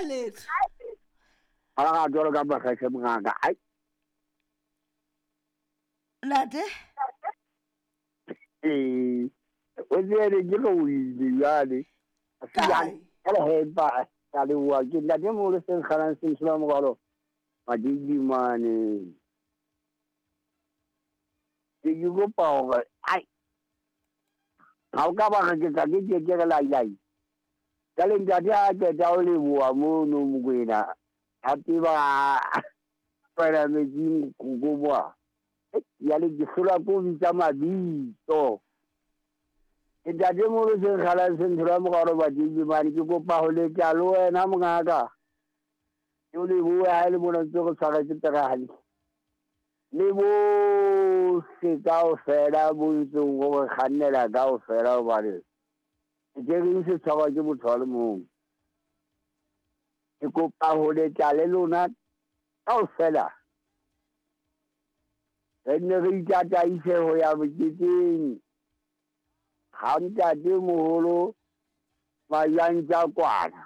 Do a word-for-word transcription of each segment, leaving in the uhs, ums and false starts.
Letho. Ga ga jalo ka mageshe mongaka. Ai. Nate. Ee. O tsere ke go ile jale. Kae? Ka he ba ka le wa ke ntate mo le seng galang seng sela mogalo. Madidimane. Ke ke kopa hore ai. Ha o ka ba re ke tla ke ke ke re lai lai. Ka le ntate a qeta ho leboha mono Mokwena. A tseba fela metsing go boa. Ya le ke hlola ko bitsa mabitso. Ntate mo le seng galang seng sela mogalo Madidimane ke kopa ho letla le wena mongaka. Ke o lebohe ha e le mona ntse re tshwaretse taba hantle. Le bohle kaofela bo ntseng ho re kgannela kaofela hobane ke reng se tshwarwa ke motho a le mong. Ke kopa ho letla le lona kaofela. Re nne re itataise ho ya moketeng ha ntate moholo Majantja kwana.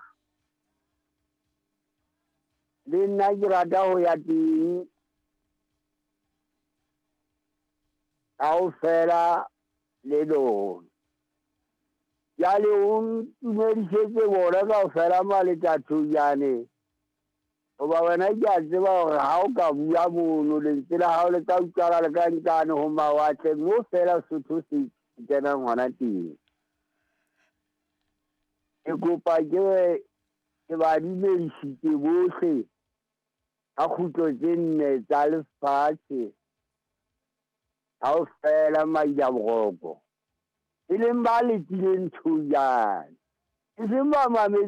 Le nna ke rata ho ya teng kaofela le lona. Jwale o ntumedisetse bona kaofela Maletathonyane. Hoba wena ke a tseba hore ha o ka bua mono lentswe la hao le ka utlwala le ka nkane ho mawatle mo fela Sotho se kenang hona teng. Ke kopa ke ke ba dumedisitse bohle ka kgutlo tse nne tsa lefatshe kaofela Mailaboroko. E leng ba letileng Thojane. E seng ba mametseng